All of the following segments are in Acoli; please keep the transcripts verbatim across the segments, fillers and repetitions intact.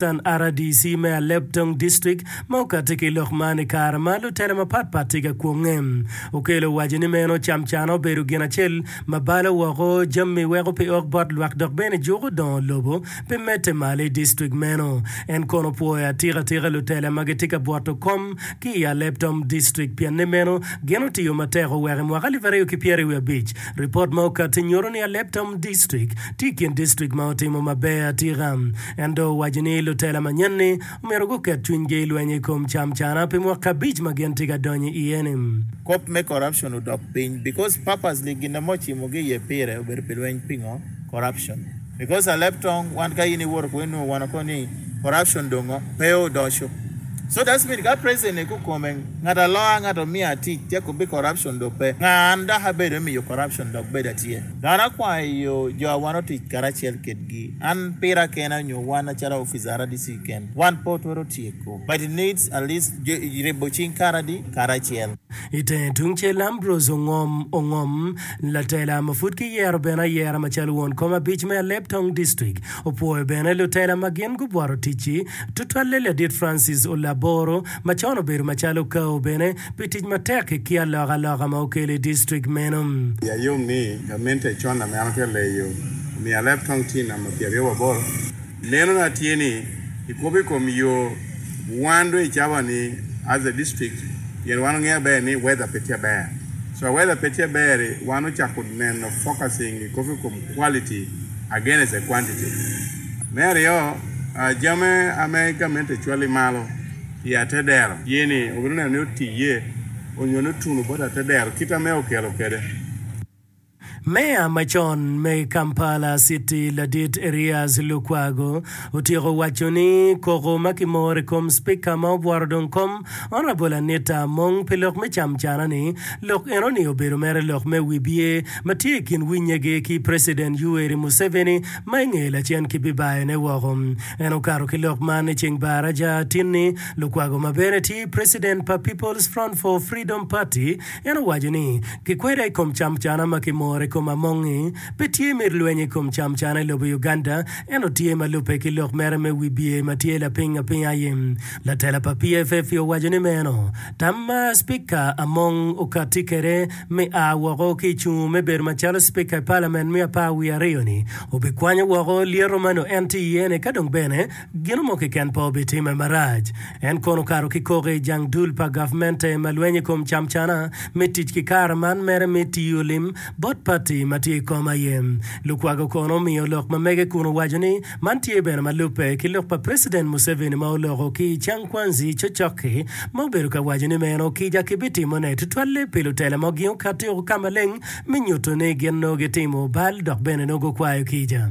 Assistant R D C me Alebtong District ma okati ki lok man i kare ma lutela mapatpat tye ka kwonge. Okello owaco ni meno camcana obedo gin acel ma balo woko jami weko pe ok bot lwak dok bene juko dongo lobo pe medde malo i district meno. En kono opwoyo atika atika lutela ma gitye ka bwoto kom ki i Alebtong District pien ni meno gin otiyo matek oweko i mwaka alip aryo ki pyeraryo wiye abic ripot ma okati nyuto ni Alebtong District tye i kin district ma otimo maber atika. En dong owaco ni lutela manyen-ni omyero guket cwinygi i lweny i kom camcana pi mwaka abic ma gin tye ka donyo iye-ni. Kop me corruption odok piny because purposely gin ma ocimogi iye pire obedo pi lweny pingo corruption because Alebtong wan ka in iwoto kwo inongo wan oko ni corruption dongo pe odoco so that's mean ka president kikome ngat aloa ngat omiya tic tye kubi corruption do pe nga an dok abedo miyo corruption dok bedo atye dano akwayo jo wan otic karacel kedgi an pira kena nyo wan acalo officer R D C ken wan pe otwero tyeko, but it needs at least ribo cing karadi karacel. I tenge tungcel, Ambrose Ongom Ongom, latela ma pud kiyero bene ayera macalo won kom abic me Alebtong District, opwoyo bene lutela ma gin gubwoto tic-ci, tutwalle ladit Francis Olaboro ma con obedo macalo kao bene pi tic matek ki alokaloka ma okelo i district meno. Ayom ni gamente con ame an atye leyo omiyo Alebtong tye namba pyeraryo aboro neno na tye ni ikobo i kom yo wan do i cawa ni as a district pien wan ong'eyo ber ni weather pe tye ber, so weather pe tye ber, wan ochako neno focusing ikobo i kom quality against the quantity. Me aryo, jame ame gamente cwali malo i atedero ye ni obedo neno ni otiye onyo ni otuno bot atedero kit ame okelo kede. Meya macon me Kampala City ladit Erias Lukwago otyeko waco ni koko ma kimoro i kom Spika ma obwoto dong kom Honorable Anita Among pi lok me camcana-ni, lok enoni obedo mere lok me wibye ma tye i kin winyegi ki President Yoweri Museveni ma i nge lacen kibibayone woko. En okato ki lok man i ceng baraja tinni. Lukwago ma bene tye President pa People's Front for Freedom Party en owaco ni kikweda i kom camcana ma kimoro i kom Among-ngi pe tye me lweny i kom camcana i lobo Uganda ento tye ma lubbe ki lok mere me wibye ma tye lapiny apiny aye. Latela pa P F F owaco ni meno tam ma Spika Among okatti kwede me a woko ki i cungo me bedo macalo Spika i Parliament me apar wiye aryo-ni obikwanyo woko lyeto ma nongo en tye iye-ni ka dong bene gino mo keken pe obitime marac. En kono okato ki koko i jang dul pa gavmente ma lweny i kom camcana me tic ki kare man mere me tiyo lim bot pati ma tye i kom aye. Lukwago kono omiyo lok ma mege kun owaco ni man tye bene ma lubbe ki lok pa President Museveni ma oloko ki i Kyankwanzi cocok-ki ma obedo ka waco ni meno kica kibitimone tutwalle pi lutela ma gin okatti woko ka maleng me nyuto ni gin nongo gitimo bal dok bene nongo gukwayo kica.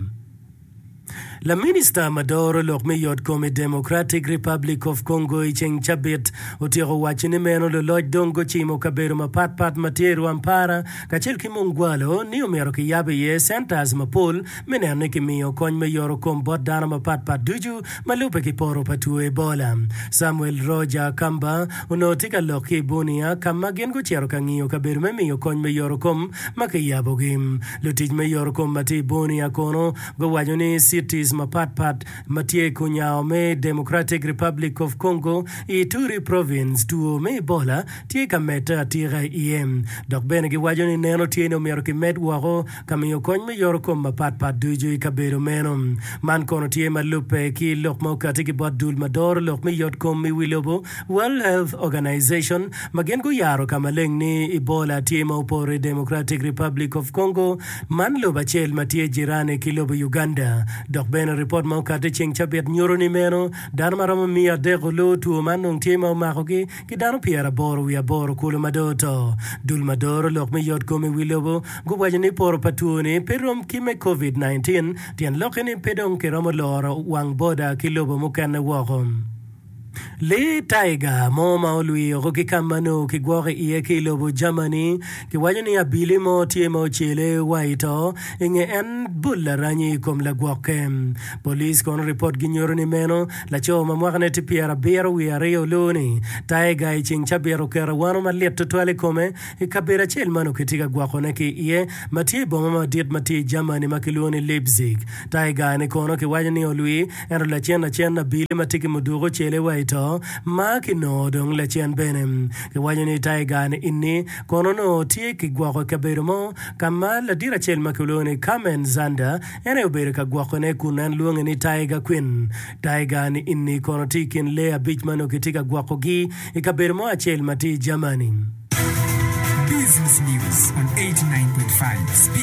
Laminista ma doro lok me yotkom i Democratic Republic of Congo i ceng cabit otyeko waco ni meno luloc dong gucimo kabedo mapatpat ma tye i Rwampara kacel ki Mungwalo ni omyero kiyab iye centers mapol me neno ni kimiyo kony me yorokom bot dano mapatpat ducu ma lubbe ki poto pa two Ebola. Samuel Roger Kamba onongo tye ka lok ki i Bunia ka ma gin gucito ka ngiyo kabedo me miyo kony me yorokom ma kiyabogi. Lutic me yorokom ma tye i Bunia kono guwaco ni cities mapatpat ma tye i kunyango me Democratic Republic of Congo i Ituri Province two me Ebola tye ka medde atika iye. Dok bene giwaco ni neno tye ni omyero kimed woko ka miyo kony me yorokom mapatpat ducu i kabedo meno. Man kono tye ma lubbe ki lok ma okatti ki bot dul ma doro lok me yotkom i wi lobo, World Health Organization, ma gin guyaro ka maleng ni Ebola tye ma opoto i Democratic Republic of Congo, man lobo acel ma tye jirani ki lobo Uganda. Dok bene ripot ma okatti ceng cabit nyuto ni meno dano ma romo miya adek olu two man dong tye ma omakogi ki dano pyeraboro wiye aboro kulu ma dong oto. Dul ma doro lok me yotkom i wi lobo guwaco ni poto pa two-ni pe rom ki me Covid nineteen, tyen lokke ni pe dong kiromo loro wang boda ki lobo mukene woko. Lee taiga mo ma olwi oko ki ka ma nongo kigwoko iye ki i lobo Germany kiwaco ni abili mo tye ma ocele wa i to i nge en bol laranyi i kom lagwokke. Police kono ripot ginyuto ni meno laco ma mwakane tye pyerabiro wiye aryo oloo-ni taiga i ceng cabit oketo awano malit tutwal i kome i kabedo acel ma nongo kitye ka gwokone ki iye ma tye i boma madit ma tye i Germany ma kilwongo ni Leipzig. Taiga-ni kono kiwaco ni olwi Ento lacen lacen abili ma tye ki muduku ocele wa i to ma kinongo dong lacen bene. Kiwaco ni Tiger ni inni kono onongo tye kigwoko i kabedo mo ka ma ladit acel ma kilwongo ni Carmen Zander en aye obedo ka gwokone kun en lwonge ni Tiger Queen. Tiger ni inni kono tye i kin lee abic ma onongo kitye ka gwokogi i kabedo mo acel ma tye i Germany. Business News on eighty nine point five Speak.